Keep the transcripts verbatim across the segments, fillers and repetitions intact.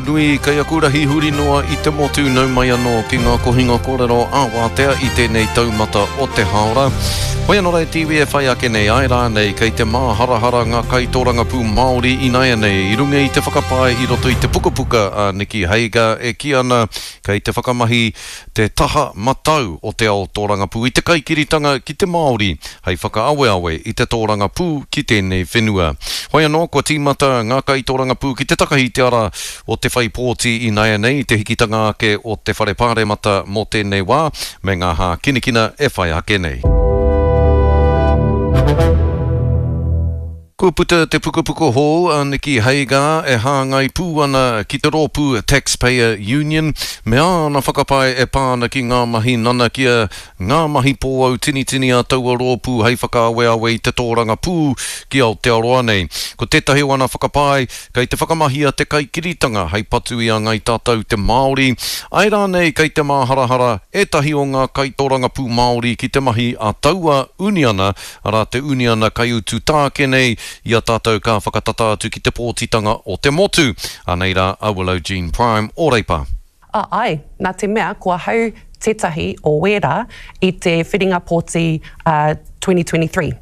nui, kei aku rahi huri noa i te motu nau mai anō ki ngā kohinga kōrero ā-wātea i tēnei taumata o te hāora. Hoi anō rā te iwi e whai ake nei, āe rānei kei te māharahara ngā kaitōrangapū Māori ināianei i runga i te whakapae i roto i te pukapuka a Nicky Hager e kī ana kei te whakamahi te taha matau o te ao tōrangapū i te kaikiritanga ki te Māori hei whakaaweawe i te tōrangapū ki tēnei whenua. Hoi anō, kua tīmata ngā kaitōrangapū ki te takahi i te ara o te whai pōti ināianei i te hikitanga ake o te Whare Pāremata mō tēnei wā me ngā hākinakina e whai ake nei. Kua puta te pukapuka hou a Nicky Hager e hāngai pū ana ki te rōpū Taxpayer Union me āna whakapae e pā ana ki ngā mahi nanakia, ngā mahi pōautinitini a taua rōpū hei whakaaweawe i te tōrangapū ki Aotearoa nei. Ko tētahi o ana whakapae, kei te whakamahia te kaikiritanga hei patu i a Ngai Tātou te Māori, āe rānei kei te māharahara ētahi o ngā kaitōrangapū Māori ki te mahi a taua uniana, arā te uniana kaiutu tāke nei i a tātou ka whakatata atu ki te pōtitanga o te motu. Anei rā a Willow Jean Prime o Reipa. A, āe, nā te mea ko ahau tētahi o wērā i te whiringa pōti a twenty twenty-three.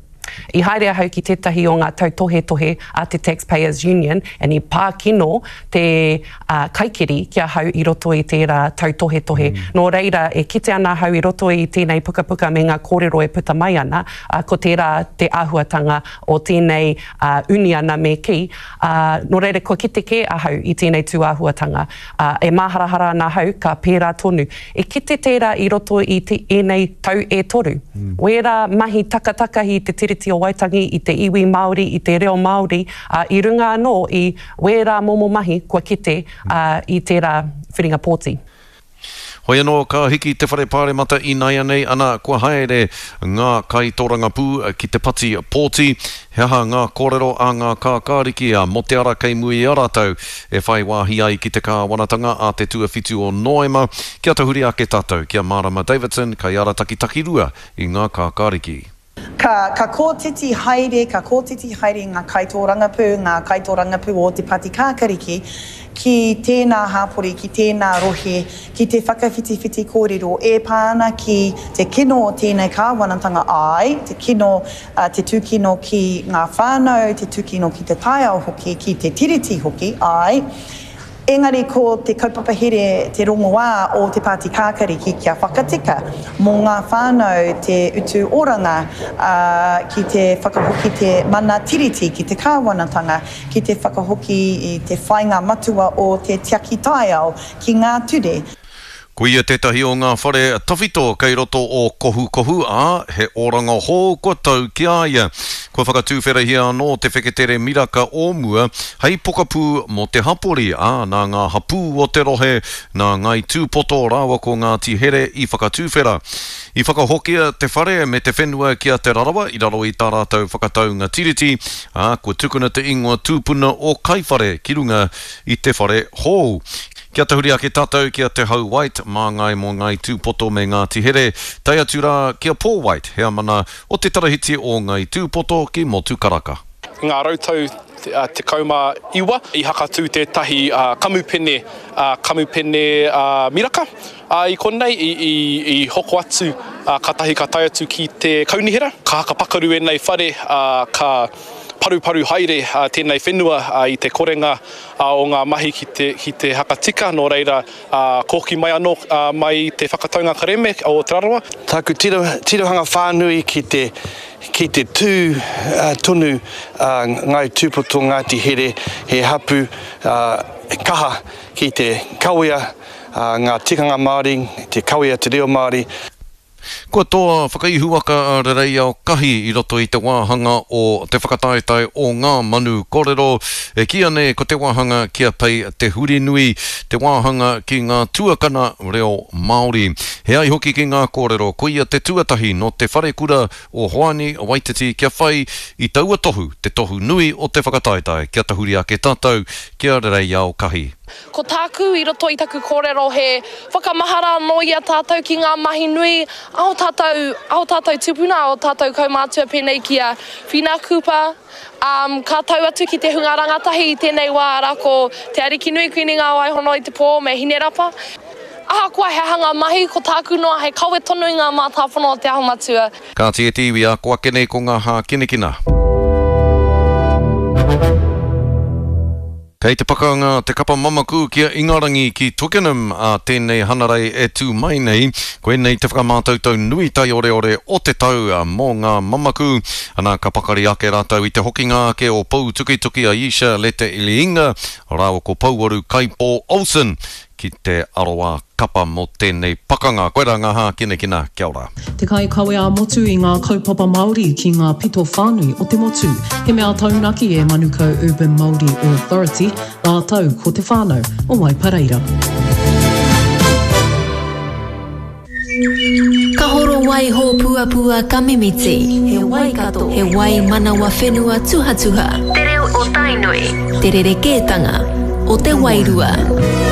I haere ahau ki tētahi o ngā tautohetohe a te Taxpayers Union and i pā kino te kaikiri ki ahau i roto i tērā tautohetohe. Nō reira, e kite ana ahau i roto i tēnei pukapuka me ngā kōrero e puta mai ana, ko tērā te āhuatanga o tēnei uniana me kī, nō reira kua kite kē ahau i tēnei tūāhuatanga. E māharahara ana ahau ka pērā tonu. E kite tērā i roto i ēnei tau e toru. Wērā mahi takatakahi i te Tiriti o Waitangi, i te iwi Māori, i te reo Māori, i runga anō i wērā momo mahi kua kite i tērā whiringa pōti. Hoi anō, ka hiki te Whare Pāremata ināianei, ana kua haere ngā kaitōrangapū ki te pati pōti. He aha ngā kōrero a ngā kākāriki a mō te ara kei mua i a rātou e whai wāhi ai ki te kāwanatanga a te tuawhitu o Noema. Kia tahuri ake tātou ki a Marama Davidson, kaiarataki takirua i ngā kākāriki. Ka, ka kōtiti haere, ka kōtiti haere ngā kaitōrangapū, ngā kaitōrangapū o te Pati Kākariki ki tēnā hāpori, ki tēnā rohe, ki te whakawhitiwhiti kōrero e pā ana ki te kino o tēnei kāwanatanga āe, te kino, te tūkino ki ngā whānau, te tūkino ki te taiao hoki, ki te tiriti hoki, āe. Engari ko te kaupapa here te rongoā o te Pāti Kākariki kia whakatika mō ngā whānau te utu oranga, ā, ki te whakahoki te mana tiriti ki te kāwanatanga, ki te whakahoki i te whāinga matua o te tiaki taiao ki ngā ture. Ko ia tētahi o ngā whare tawhito kei roto o Kohukohu, ā, he oranga hou kua tau ki a ia. Kua whakatūwherahia anō te wheketere miraka o mua hei pokapū mō te hapori, ā, nā ngā hapū o te rohe, nā Ngāi Tūpoto rāua ko Ngāti Here i whakatūwhera. I whakahokia te whare me te whenua ki a Te Rarawa i raro i tā rātou whakataunga tiriti, ā, kua tukuna te ingoa tūpuna o Kaiwhare ki runga i te whare hou. Kia tahuri ake tātou ki a Te Hau White, māngai mō Ngāi Tūpoto me Ngāti Here, tae atu rā ki a Paul White, heamana o te Tarahiti o Ngāi Tūpoto ki Motukaraka. I ngā rautau tekau mā iwa, i hakatū tētahi kamupene, kamupene miraka. I konei i hoko atu, kātahi ka tae atu ki te kaunihera. Ka hakapakaru ēnei whare, ka paruparu haere tēnei whenua i te korenga o ngā mahi ki te, ki te hakatika, nō reira kōki mai anō mai te whakataunga kareme o Te Rarawa. Tāku tiro, tirohanga whānui ki te, ki te tū tonu Ngāi Tūpoto Ngāti Here, he hapu kaha ki te kawea ngā tikanga Māori, te kawea te reo Māori. Kua toa whakaihuwaka a Rereiao Kahi i roto i te wāhanga o te whakataetae o ngā manu korero, e kīia nei ko te wāhanga ki a Pei Te Hurinui, te wāhanga ki ngā tuakana reo Māori. He ai hoki ki ngā kōrero, koia te tuatahi nō te wharekura o Hoani Waititi kia whai i taua tohu, te tohu nui o te whakataetae, kia tahuri ake tātou ki a Rereiao Kahi. Ko tāku i roto i taku kōrero he whakamahara anō i a tātou ki ngā mahi nui a ō tātou, a ō tātou tūpuna, a ō tātou kaumātua pēnei ki a Whina Cooper, ā, ka tau atu ki te hunga rangatahi i tēnei wā, arā ko Te Arikinui Kuini Ngāwaihono i te Pō me Hinerapa. Ahakoa he aha ngā mahi, ko tāku noa hei kawe tonu i ngā mātāpono o Te Aho Matua. Kāti e te iwi, ā, ko ake nei ko ngā hākinakina. Kei te pakanga te kapa mamaku ki a Ingarangi ki Twickenham ā tēnei Hanarei e tū mai nei. Koinei te whakamātautau nui taioreore o te tau mō ngā mamaku. Ana, ka pakari ake rātou i te hokinga ake o Poutukituki Ayesha Lete-Iliinga rāua ko Pouaru Kaipo Olsen ki te aroā kapa mō tēnei pakanga. Koirā ngā hākinakina. Kia ora. Te kaikawe ā-motu i ngā kaupapa Māori ki ngā pito whānui o te motu. He mea taunaki e Manukau Urban Māori Authority rātou ko te whānau o Waipareira. Ka horo wai hōpuapua ka mimiti. He Waikato, he wai manawa whenua tuhatuha. Te reo o Tainui. Te rerekētanga o te wairua.